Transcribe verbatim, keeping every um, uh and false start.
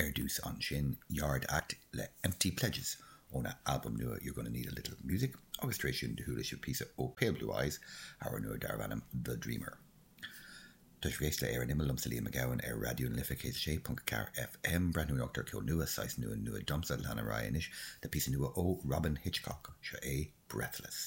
Ar dtús ansin Yard Act le Empty Pledges óna albam nua You're Gonna Need a Little Music agus tar éis sin do chuala sibh píosa ó Pale Blue Eyes amhrán nua darb ainm The Dreamer. Tá sibh ag éisteacht le Ar an Imeall liomsa Liam Mac Gabhann ar Raidió na Life céad a sé ponc ceathair FM breathnú anocht ar ceol nua saghas nua nua domsa lean ar aghaidh anois le píosa nua ó Robyn Hitchcock seo é Breathless.